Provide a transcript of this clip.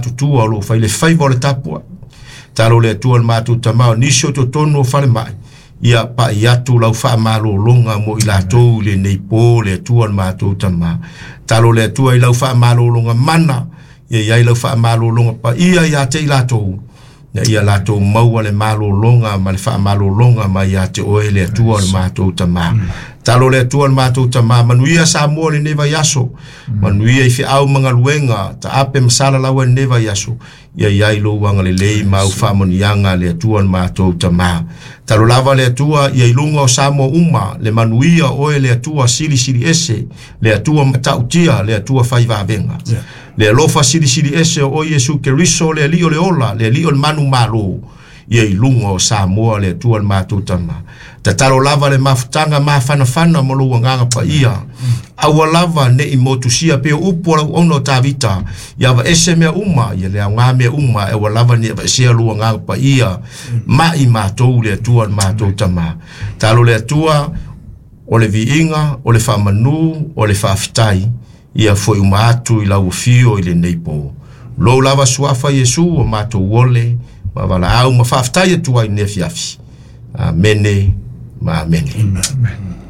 matutua o lo o fai le faiva o le tapuai. Talo le Atua le matou Tama o nisi o totonu o falemai, ia pai atu lau faamalologa mo i latou i lenei po le Atua le matou Tama. Talo le Atua i lau faamalologa mana, ia i ai lau faamalologa paia ia te i latou, ina ia latou maua le malologa ma le faamalologa mai ia te oe le Atua le matou Tama. Talo le Atua le matou Tama, manuia Samoa lenei vaiaso, manuia i feau ma galuega, taape ma salalau ai lenei vaiaso, ia i ai lou agalelei ma au faamanuiaga le Atua le matou Tama. Talo lava le Atua ia i luga o Samoa uma, le manuia o oe le Atua silisili ese, le Atua matautia, le Atua fai vavega. Le alofa silisili ese o oe Iesu Keriso, le Alii o le ola, le Alii o le manumalo, ia i luga o Samoa le Atua le matou Tama. Tatalo lava le mafutaga mafanafana ma lou agaga paia. Aua lava ne i motusia pe o upu o lau auauna o Tavita, ia aveese mea uma, ia le aoga mea uma, e aua lava ne i aveesea lou agaga paia ma i matou le Atua le matou Tama. Talo le Atua o le viiga, o le faamanu, o le faafetai, ia foi uma atu i lau afio i lenei po. Lou lava suafa Iesu o matou ole, ma valaau ma faafetai atu ai i lenei afiafi. Amene ma amene. Amen.